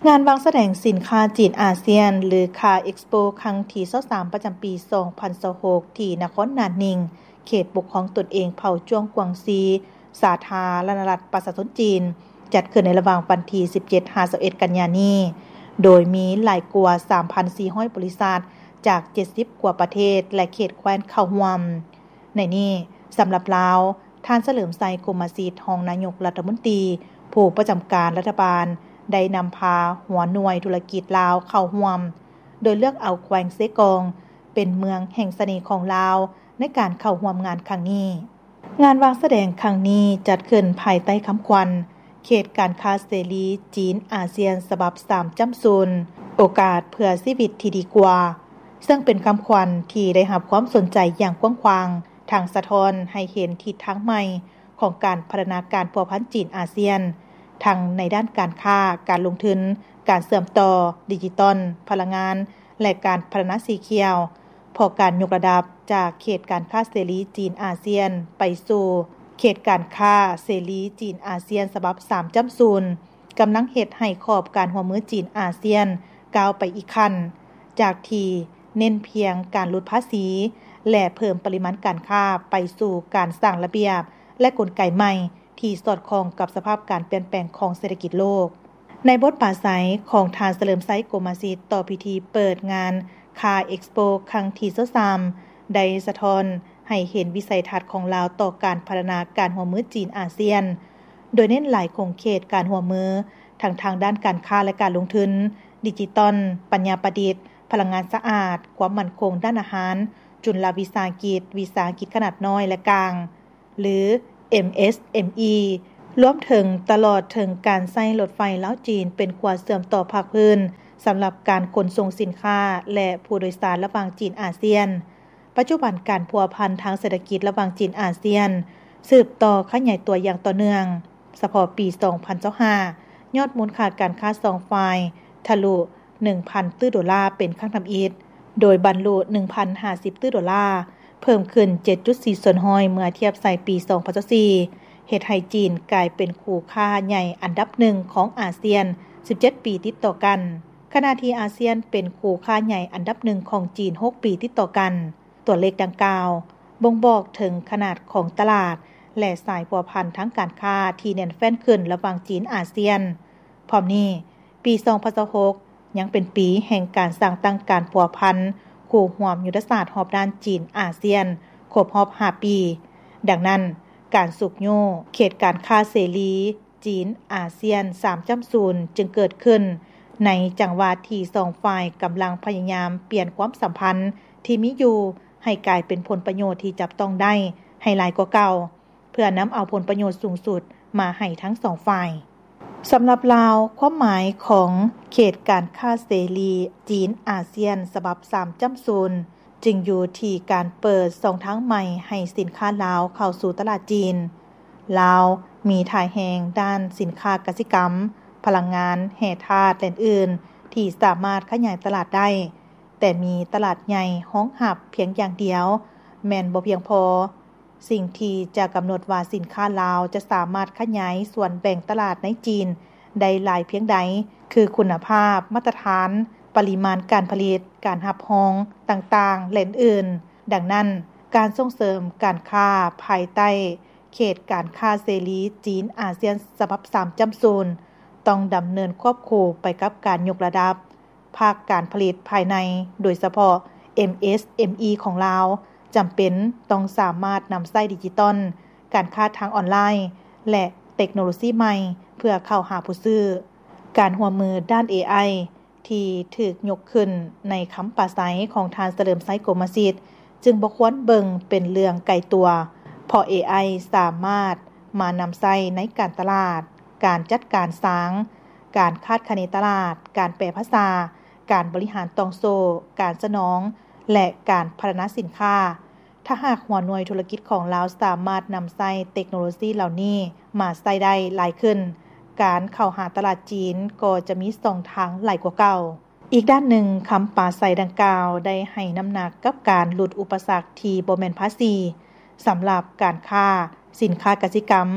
ງານວາງສະແດງສິນຄ້າຈີນອາຊຽນ ຫຼື CAR Expo ຄັ້ງທີຊາວສາມ ປະຈຳປີສອງພັນຊາວຫົກ ທີ່ນະຄອນໜານໜິງ ເຂດປົກຄອງຕົນເອງເຜົ່າຈວງກວາງຊີ ສາທາລະນະລັດປະຊາຊົນຈີນ ຈັດຂຶ້ນໃນລະຫວ່າງວັນທີສິບເຈັດ ຫາ ຊາວເອັດ ກັນຍານີ້ ໂດຍມີຫຼາຍກວ່າ ສາມພັນສີ່ຮ້ອຍ ບໍລິສັດ ຈາກ ເຈັດສິບ ກວ່າປະເທດ ແລະ ເຂດແຄວ້ນເຂົ້າຮ່ວມ. ໃນນີ້ ສຳລັບລາວ, ທ່ານ ສະເຫຼີມໄຊ ກົມມະສິດ ຮອງນາຍົກລັດຖະມົນຕີ ຜູ້ປະຈຳການລັດຖະບານ ໄດ້ນຳພາຫົວໜ່ວຍທຸລະກິດລາວເຂົ້າຮ່ວມ, ໂດຍເລືອກເອົາແຂວງເຊກອງ ເປັນເມືອງແຫ່ງສະເໜ່ຂອງລາວ ໃນການເຂົ້າຮ່ວມງານຄັ້ງນີ້. ງານວາງສະແດງຄັ້ງນີ້ຈັດຂຶ້ນພາຍໃຕ້ຄຳຂວັນ ເຂດການຄ້າເສລີຈີນອາຊຽນ ສະບັບສາມຈ້ຳສູນ ໂອກາດເພື່ອຊີວິດທີ່ດີກວ່າ, ເຊິ່ງເປັນຄຳຂວັນທີ່ໄດ້ຮັບຄວາມສົນໃຈຢ່າງກວ້າງຂວາງ, ທັງສະທ້ອນໃຫ້ເຫັນທິດທາງໃໝ່ຂອງການພັດທະນາການພົວພັນຈີນອາຊຽນ, ທັງໃນດ້ານການຄ້າ, ການລົງທຶນ, ການເຊື່ອມຕໍ່, ດິຈິຕອນ, ພະລັງງານ ແລະ ການພັດທະນາສີຂຽວ, ເພາະການຍົກລະດັບຈາກເຂດການຄ້າເສລີຈີນອາຊຽນ ໄປສູ່ເຂດການຄ້າເສລີຈີນອາຊຽນ ສະບັບສາມຈ້ຳສູນ ກຳລັງເຮັດໃຫ້ຂອບການຮ່ວມມືຈີນອາຊຽນກ້າວໄປອີກຂັ້ນ, ຈາກທີ່ເນັ້ນພຽງການຫຼຸດພາສີ ແລະ ເພີ່ມປະລິມານການຄ້າ ໄປສູ່ການສ້າງລະບຽບ ແລະ ກົນໄກໃໝ່ທີ່ສອດຄ່ອງກັບສະພາບການປ່ຽນແປງຂອງເສດຖະກິດໂລກ. ໃນບົດປາໄສຂອງທ່ານ ສະເຫຼີມໄຊ ກົມມະສິດ ຕໍ່ພິທີເປີດງານ CAR Expo ຄັ້ງທີຊາວສາມ ໄດ້ສະທ້ອນໃຫ້ເຫັນວິໄສທັດຂອງລາວຕໍ່ການພັດທະນາການຮ່ວມມືຈີນອາຊຽນ, ໂດຍເນັ້ນຫຼາຍຂົງເຂດການຮ່ວມມື ທັງທາງດ້ານການຄ້າ ແລະ ການລົງທຶນ, ດິຈິຕອນ, ປັນຍາປະດິດ, ພະລັງງານສະອາດ, ຄວາມໝັ້ນຄົງດ້ານອາຫານ, ຈຸນລະວິສາຫະກິດ, ວິສາຫະກິດຂະໜາດນ້ອຍ ແລະ ກາງ ຫຼື MSME ລວມເຖິງຕະຫຼອດເຖິງການໃຊ້ລົດໄຟລາວຈີນເປັນຂົວເຊື່ອມຕໍ່ພາກພື້ນສຳລັບການຂົນສົ່ງສິນຄ້າ ແລະ ຜູ້ໂດຍສານລະຫວ່າງຈີນອາຊຽນ. ປັດຈຸບັນການພົວພັນທາງເສດຖະກິດລະຫວ່າງຈີນອາຊຽນ ສືບຕໍ່ຂະຫຍາຍຕົວຢ່າງຕໍ່ເນື່ອງ. ສະເພາະປີສອງພັນຊາວຫ້າ ຍອດມູນຄ່າການຄ້າສອງຝ່າຍທະລຸ ໜຶ່ງພັນຕື້ໂດລາເປັນຄັ້ງທຳອິດ, ໂດຍບັນລຸ ໜຶ່ງພັນຫ້າສິບຕື້ໂດລາ, ເພີ່ມຂຶ້ນ ເຈັດຈຸດສີ່ສ່ວນຮ້ອຍ ເມື່ອທຽບໃສ່ປີສອງພັນຊາວສີ່ ເຮັດໃຫ້ຈີນກາຍເປັນຄູ່ຄ້າໃຫຍ່ອັນດັບໜຶ່ງຂອງອາຊຽນ ສິບເຈັດປີຕິດຕໍ່ກັນ, ຂະນະທີ່ອາຊຽນເປັນຄູ່ຄ້າໃຫຍ່ອັນດັບໜຶ່ງຂອງຈີນ ຫົກປີຕິດຕໍ່ກັນ. ຕົວເລກດັ່ງກ່າວບົ່ງບອກເຖິງຂະໜາດຂອງຕະຫຼາດ ແລະ ສາຍພົວພັນທາງການຄ້າທີ່ແໜ້ນແຟ້ນຂຶ້ນລະຫວ່າງຈີນອາຊຽນ. ພ້ອມນີ້, ປີສອງພັນຊາວຫົກ ຍັງເປັນປີແຫ່ງການສ້າງຕັ້ງການພົວພັນຄູ່ຮ່ວມຍຸດທະສາດຮອບດ້ານຈີນອາຊຽນ ຄົບຮອບຫ້າປີ. ດັ່ງນັ້ນ, ການຊຸກຍູ້ເຂດການຄ້າເສລີຈີນອາຊຽນສາມຈ້ຳສູນຈຶ່ງເກີດຂຶ້ນໃນຈັງຫວະທີ່ສອງຝ່າຍກຳລັງພະຍາຍາມປ່ຽນຄວາມສຳພັນທີ່ມີຢູ່ໃຫ້ກາຍເປັນຜົນປະໂຫຍດທີ່ຈັບຕ້ອງໄດ້ໃຫ້ຫຼາຍກວ່າເກົ່າ, ເພື່ອນຳເອົາຜົນປະໂຫຍດສູງສຸດມາໃຫ້ທັງສອງຝ່າຍ. ສຳລັບລາວ, ຄວາມໝາຍຂອງເຂດການຄ້າເສລີຈີນອາຊຽນສະບັບສາມຈ້ຳສູນ ຈຶ່ງຢູ່ທີ່ການເປີດຊ່ອງທາງໃໝ່ໃຫ້ສິນຄ້າລາວເຂົ້າສູ່ຕະຫຼາດຈີນ. ລາວມີທ່າແຮງດ້ານສິນຄ້າກະສິກຳ, ພະລັງງານ, ແຮ່ທາດ ແລະ ອື່ນໆ ທີ່ສາມາດຂະຫຍາຍຕະຫຼາດໄດ້, ແຕ່ມີຕະຫຼາດໃຫຍ່ຮອງຮັບພຽງຢ່າງດຽວແມ່ນບໍ່ພຽງພໍ. ສິ່ງທີ່ຈະກຳນົດວ່າສິນຄ້າລາວຈະສາມາດຂະຫຍາຍສ່ວນແບ່ງຕະຫຼາດໃນຈີນໄດ້ຫຼາຍພຽງໃດ ຄືຄຸນນະພາບ, ມາດຕະຖານ, ປະລິມານການຜະລິດ, ການຮັບຮອງຕ່າງໆ ແລະ ອື່ນໆ. ດັ່ງນັ້ນ, ການສົ່ງເສີມການຄ້າພາຍໃຕ້ເຂດການຄ້າເສລີຈີນອາຊຽນສະບັບສາມຈ້ຳສູນ ຕ້ອງດຳເນີນຄວບຄູ່ໄປກັບການຍົກລະດັບ ພາກການຜະລິດພາຍໃນ, ໂດຍສະເພາະ MSME ຂອງລາວ ຈຳເປັນຕ້ອງສາມາດນຳໃຊ້ດິຈິຕອນ, ການຄ້າທາງອອນລາຍ ແລະ ເຕັກໂນໂລຊີໃໝ່ ເພື່ອເຂົ້າຫາຜູ້ຊື້. ການຮ່ວມມືດ້ານ ເອໄອ ທີ່ຖືກຍົກຂຶ້ນໃນຄຳປາໄສຂອງທ່ານ ສະເຫຼີມໄຊ ກົມມະສິດ ຈຶ່ງບໍ່ຄວນເບິ່ງເປັນເລື່ອງໄກຕົວ, ເພາະ ເອໄອ ສາມາດມານຳໃຊ້ໃນການຕະຫຼາດ, ການຈັດການສາງ, ການຄາດຄະເນຕະຫຼາດ, ການແປພາສາ, ການບໍລິຫານຕ່ອງໂສ້, ການສະໜອງ ແລະ ການພັດທະນາສິນຄ້າ. ຖ້າຫາກຫົວໜ່ວຍທຸລະກິດຂອງລາວສາມາດນຳໃຊ້ເຕັກໂນໂລຊີເຫຼົ່ານີ້ມາໃຊ້ໄດ້ຫຼາຍຂຶ້ນ, ການເຂົ້າຫາຕະຫຼາດຈີນກໍຈະມີຊ່ອງທາງຫຼາຍກວ່າເກົ່າ. ອີກດ້ານໜຶ່ງ, ຄຳປາໄສດັ່ງກ່າວໄດ້ໃຫ້ນ້ຳໜັກກັບການຫຼຸດອຸປະສັກທີ່ບໍ່ແມ່ນພາສີ ສຳລັບການຄ້າສິນຄ້າກະສິກຳ.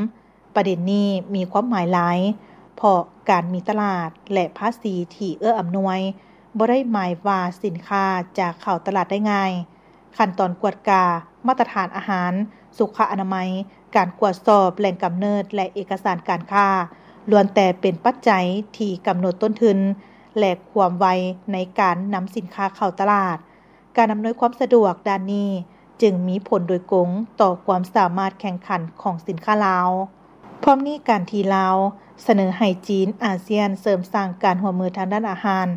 ປະເດັນນີ້ມີຄວາມໝາຍຫຼາຍ, ເພ ເພາະການມີຕະຫຼາດ ແລະ ພາສີທີ່ເອື້ອອຳນວຍ ບໍ່ໄດ້ໝາຍວ່າສິນຄ້າຈະເຂົ້າຕະຫຼາດໄດ້ງ່າຍ. ຂັ້ນຕອນກວດກາມາດຕະຖານອາຫານ, ສຸຂະອະນາໄມ, ການກວດສອບແຫຼ່ງກຳເນີດ ແລະ ເອກະສານການຄ້າ ລ້ວນແຕ່ເປັນປັດໄຈທີ່ກຳນົດຕົ້ນທຶນ ແລະ ຄວາມໄວໃນການນຳສິນຄ້າເຂົ້າຕະຫຼາດ. ການອຳນວຍຄວາມສະດວກດ້ານນີ້ຈຶ່ງມີຜົນໂດຍກົງຕໍ່ຄວາມສາມາດແຂ່ງຂັນຂອງສິນຄ້າລາວ. ພ້ອມນີ້, ການທີ່ລາວສະເໜີໃຫ້ຈີນອາຊຽນເສີມສ້າງການຮ່ວມມືທາງດ້ານອາຫານ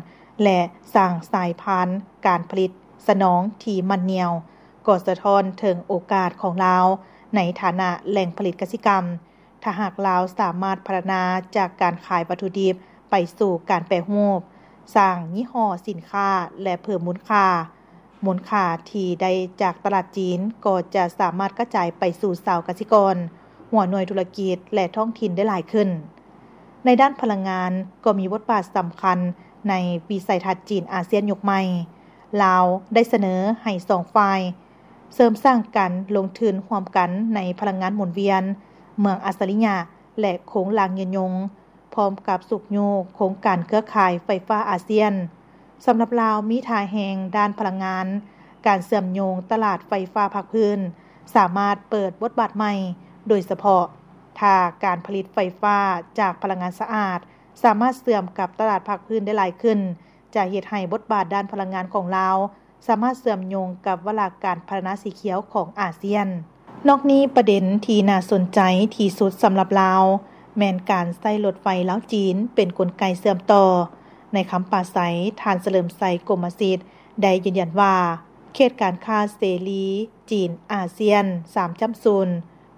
ແລະ ສ້າງສາຍພານການຜະລິດສະໜອງທີ່ໝັ້ນໜ້ຽວ ກໍສະທ້ອນເຖິງໂອກາດຂອງລາວໃນຖານະແຫຼ່ງຜະລິດກະສິກຳ. ຖ້າຫາກລາວສາມາດພັດທະນາຈາກການຂາຍວັດຖຸດິບໄປສູ່ການແປຮູບ, ສ້າງຍີ່ຫໍ້ສິນຄ້າ ແລະ ເພີ່ມມູນຄ່າ, ມູນຄ່າທີ່ໄດ້ຈາກຕະຫຼາດຈີນກໍຈະສາມາດກະຈາຍໄປສູ່ຊາວກະສິກອນ, ຫົວໜ່ວຍທຸລະກິດ ແລະ ທ້ອງຖິ່ນໄດ້ຫຼາຍຂຶ້ນ. ໃນດ້ານພະລັງງານກໍມີບົດບາດສຳຄັນໃນວິໄສທັດຈີນອາຊຽນຍຸກໃໝ່. ລາວໄດ້ສະເໜີໃຫ້ສອງຝ່າຍເສີມສ້າງການລົງທຶນຮ່ວມກັນໃນພະລັງງານໝູນວຽນ, ເມືອງອັດສະລິຍະ ແລະ ໂຄງລ່າງຍືນຍົງ, ພ້ອມກັບຊຸກຍູ້ໂຄງການເຄືອຂ່າຍໄຟຟ້າອາຊຽນ. ສຳລັບລາວ, ມີທ່າແຮງດ້ານພະລັງງານ, ການເຊື່ອມໂຍງຕະຫຼາດໄຟຟ້າພາກພື້ນ ສາມາດເປີດບົດບາດໃໝ່, ໂດຍສະເພາະຖ້າການຜະລິດໄຟຟ້າຈາກພະລັງງານສະອາດ ສາມາດເຊື່ອມກັບຕະຫຼາດພາກພື້ນໄດ້ຫຼາຍຂຶ້ນ, ຈະເຮັດໃຫ້ບົດບາດດ້ານພະລັງງານຂອງລາວ ສາມາດເຊື່ອມໂຍງກັບວາລະການພັດທະນາສີຂຽວຂອງອາຊຽນ. ນອກນີ້, ປະເດັນທີ່ໜ້າສົນໃຈທີ່ສຸດສຳລັບລາວ ແມ່ນການໃຊ້ລົດໄຟລາວ-ຈີນເປັນກົນໄກເຊື່ອມຕໍ່. ໃນຄຳປາໄສ, ທ່ານ ສະເຫຼີມໄຊ ກົມມະສິດ ໄດ້ຢືນຢັນວ່າ ເຂດການຄ້າເສລີຈີນອາຊຽນສາມຈ້ຳສູນ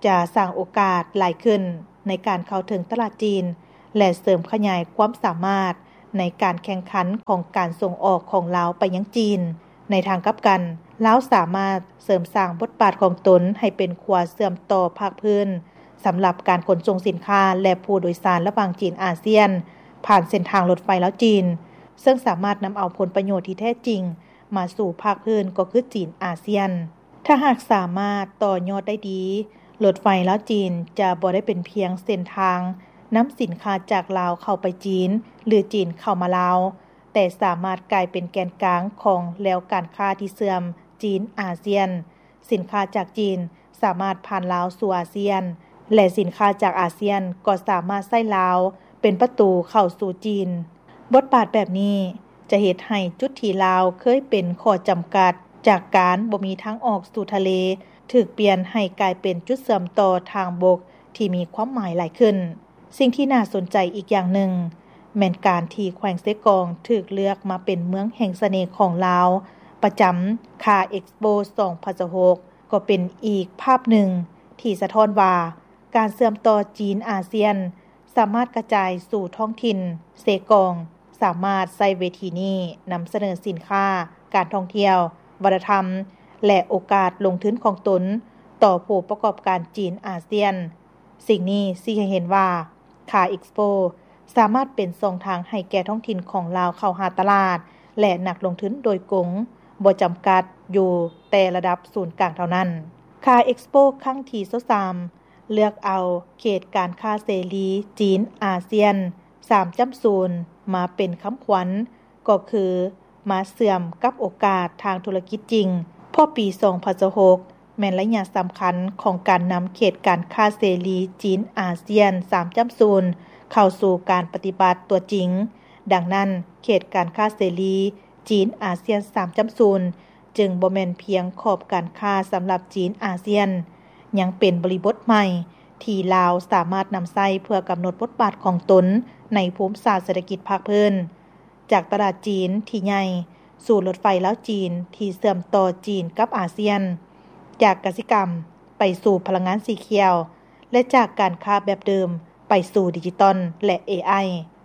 ຈະສ້າງໂອກາດຫຼາຍຂຶ້ນໃນການເຂົ້າເຖິງຕະຫຼາດຈີນ ແລະ ເສີມຂະຫຍາຍຄວາມສາມາດໃນການແຂ່ງຂັນຂອງການສົ່ງອອກຂອງລາວໄປຍັງຈີນ. ໃນທາງກັບກັນ, ລາວສາມາດເສີມສ້າງບົດບາດຂອງຕົນໃຫ້ເປັນຂົວເຊື່ອມຕໍ່ພາກພື້ນ ສຳລັບການຂົນສົ່ງສິນຄ້າ ແລະ ຜູ້ໂດຍສານລະຫວ່າງຈີນອາຊຽນ ຜ່ານເສັ້ນທາງລົດໄຟລາວ-ຈີນ, ເຊິ່ງສາມາດນຳເອົາຜົນປະໂຫຍດທີ່ແທ້ຈິງມາສູ່ພາກພື້ນ ກໍຄືຈີນອາຊຽນ. ຖ້າຫາກສາມາດຕໍ່ຍອດໄດ້ດີ, ລົດໄຟລາວ-ຈີນຈະບໍ່ໄດ້ເປັນພຽງເສັ້ນທາງນຳສິນຄ້າຈາກລາວເຂົ້າໄປຈີນ ຫຼື ຈີນເຂົ້າມາລາວ, ແຕ່ສາມາດກາຍເປັນແກນກາງຂອງແລວການຄ້າທີ່ເຊື່ອມຈີນອາຊຽນ. ສິນຄ້າຈາກຈີນສາມາດຜ່ານລາວສູ່ອາຊຽນ ແລະ ສິນຄ້າຈາກອາຊຽນກໍສາມາດໃຊ້ລາວເປັນປະຕູເຂົ້າສູ່ຈີນ. ບົດບາດແບບນີ້ຈະເຮັດໃຫ້ຈຸດທີ່ລາວເຄີຍເປັນຂໍ້ຈຳກັດຈາກການບໍ່ມີທາງອອກສູ່ທະເລ ຖືກປ່ຽນໃຫ້ກາຍເປັນຈຸດເຊື່ອມຕໍ່ທາງບົກທີ່ມີຄວາມໝາຍຫຼາຍຂຶ້ນ. ສິ່ງທີ່ໜ້າສົນໃຈອີກຢ່າງໜຶ່ງ ແມ່ນການທີ່ແຂວງເຊກອງຖືກເລືອກມາເປັນເມືອງແຫ່ງສະເໜ່ຂອງລາວ ປະຈຳ CAREXPO ສອງພັນຊາວຫົກ ກໍເປັນອີກພາບໜຶ່ງທີ່ສະທ້ອນວ່າ ການເຊື່ອມຕໍ່ຈີນອາຊຽນສາມາດກະຈາຍສູ່ທ້ອງຖິ່ນ. ເຊກອງສາມາດໃຊ້ເວທີນີ້ນຳສະເໜີສິນຄ້າ, ການທ່ອງທ່ຽວ, ວັດທະນະທຳ ແລະ ໂອກາດລົງທຶນຂອງຕົນຕໍ່ຜູ້ປະກອບການຈີນອາຊຽນ. ສິ່ງນີ້ຊີ້ໃຫ້ເຫັນວ່າ CAREXPO ສາມາດເປັນຊ່ອງທາງໃຫ້ແກ່ທ້ອງຖິ່ນຂອງລາວເຂົ້າຫາຕະຫຼາດ ແລະ ນັກລົງທຶນໂດຍກົງ, ບໍ່ຈຳກັດຢູ່ແຕ່ລະດັບສູນກາງເທົ່ານັ້ນ. CAREXPO ຄັ້ງທີຊາວສາມ ເລືອກເອົາເຂດການຄ້າເສລີຈີນອາຊຽນສາມຈ້ຳສູນມາເປັນຄຳຂວັນ ກໍຄືມາເຊື່ອມກັບໂອກາດທາງທຸລະກິດຈິງ, ເພາະປີສອງພັນຊາວຫົກ ແມ່ນໄລຍະສຳຄັນຂອງການນຳເຂດການຄ້າເສລີຈີນອາຊຽນສາມຈ້ຳສູນເຂົ້າສູ່ການປະຕິບັດຕົວຈິງ. ດັ່ງນັ້ນ, ເຂດການຄ້າເສລີຈີນອາຊຽນສາມຈ້ຳສູນ ຈຶ່ງບໍ່ແມ່ນພຽງຂອບການຄ້າສຳລັບຈີນອາຊຽນ, ຍັງເປັນບໍລິບົດໃໝ່ທີ່ລາວສາມາດນຳໃຊ້ເພື່ອກຳນົດບົດບາດຂອງຕົນໃນພູມສາດເສດຖະກິດພາກພື້ນ, ຈາກຕະຫຼາດຈີນທີ່ໃຫຍ່ ສູ່ລົດໄຟລາວ-ຈີນທີ່ເຊື່ອມຕໍ່ຈີນກັບອາຊຽນ, ຈາກກະສິກຳໄປສູ່ພະລັງງານສີຂຽວ ແລະ ຈາກການຄ້າແບບເດີມໄປສູ່ດິຈິຕອນ ແລະ ເອໄອ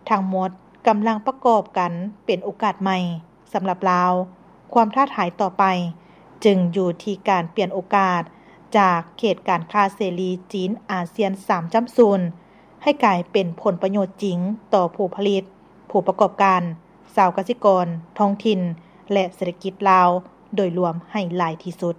ທັງໝົດກຳລັງປະກອບກັນເປັນໂອກາດໃໝ່. ສຳລັບລາວ, ຄວາມທ້າທາຍຕໍ່ໄປຈຶ່ງຢູ່ທີ່ການປ່ຽນໂອກາດຈາກເຂດການຄ້າເສລີຈີນອາຊຽນສາມຈ້ຳສູນ ໃຫ້ກາຍເປັນຜົນປະໂຫຍດຈິງຕໍ່ຜູ້ຜະລິດ, ຜູ້ປະກອບການ, ຊາວກະສິກອນ, ທ້ອງຖິ່ນ ແລະ ເສດຖະກິດລາວໂດຍລວມໃຫ້ຫຼາຍທີ່ສຸດ.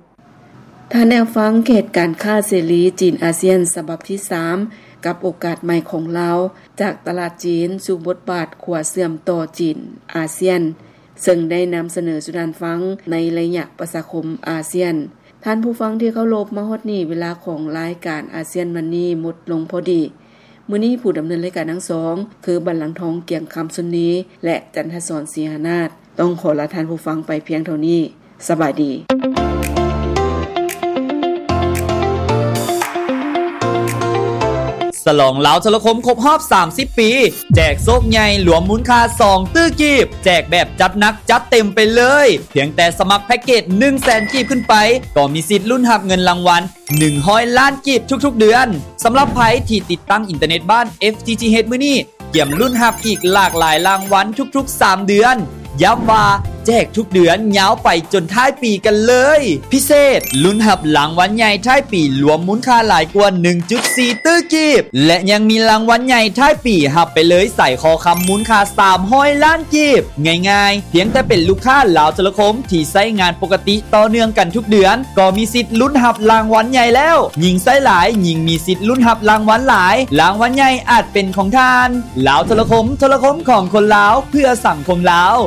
ທ່ານແນວຟັງເຂດການຄ້າເສລີຈີນອາຊຽນສະບັບທີສາມ ກັບໂອກາດໃໝ່ຂອງລາວ ຈາກຕະຫຼາດຈີນສູ່ບົດບາດຂົວເຊື່ອມຕໍ່ຈີນ-ອາຊຽນ ເຊິ່ງໄດ້ນຳສະເໜີສູ່ທ່ານຟັງໃນໄລຍະປະຊາຄົມອາຊຽນ. ທ່ານຜູ້ຟັງທີ່ເຄົາລົບ, ມາຮອດນີ້ເວລາຂອງລາຍການອາຊຽນວັນນີ້ໝົດລົງພໍດີ. ມື້ນີ້ຜູ້ດຳເນີນລາຍການທັງສອງ ຄື ບັນລັງທອງ ກຽງຄຳຊຸນນີ ແລະ ຈັນທະສອນ ສີຫານາດ ຕ້ອງຂໍລາທ່ານຜູ້ຟັງໄປພຽງເທົ່ານີ້. ສະບາຍດີ. ສະຫຼອງລາວໂທລະຄົມຄົບຮອບສາມສິບປີ ແຈກໂຊກໃຫຍ່ລວມມູນຄ່າສອງຕື້ກີບ ແຈກແບບຈັດໜັກຈັດເຕັມໄປເລີຍ. ພຽງແຕ່ສະໝັກແພັກເກດໜຶ່ງແສນກີບຂຶ້ນໄປ ກໍມີສິດລຸ້ນຮັບເງິນລາງວັນ ໜຶ່ງຮ້ອຍລ້ານກີບທຸກໆເດືອນ. ສຳລັບໃຜທີ່ຕິດຕັ້ງອິນເຕີເນັດບ້ານ ເອັຟທີທີເອັດ ມື້ນີ້ ກຽມລຸ້ນຮັບອີກຫຼາກຫຼາຍລາງວັນທຸກໆສາມເດືອນ. ຢ້ຳວ່າແຈກທຸກເດືອນຍາວໄປຈົນທ້າຍປີກັນເລີຍ. ພິເສດ, ລຸ້ນຮັບລາງວັນໃຫຍ່ທ້າຍປີລວມມູນຄ່າຫຼາຍກວ່າໜຶ່ງຈຸດສີ່ຕື້ກີບ ແລະ ຍັງມີລາງວັນໃຫຍ່ທ້າຍປີຮັບໄປເລີຍສາຍຄໍຄຳມູນຄ່າສາມຮ້ອຍລ້ານກີບ. ງ່າຍໆ, ພຽງແຕ່ເປັນລູກຄ້າລາວໂທລະຄົມທີ່ໃຊ້ງານປົກກະຕິຕໍ່ເນື່ອງກັນທຸກເດືອນ ກໍມີສິດລຸ້ນຮັບລາງວັນໃຫຍ່ແລ້ວ. ຍິ່ງໃຊ້ຫຼາຍ, ຍິ່ງມີສິດລຸ້ນຮັບລາງວັນຫຼາຍ. ລາງວັນໃຫຍ່ອາດເປັນຂອງທ່ານ. ລາວໂທລະຄົມ, ໂທລະຄົມຂອງຄົນລາວ, ເພື່ອສັງຄົມລາວ.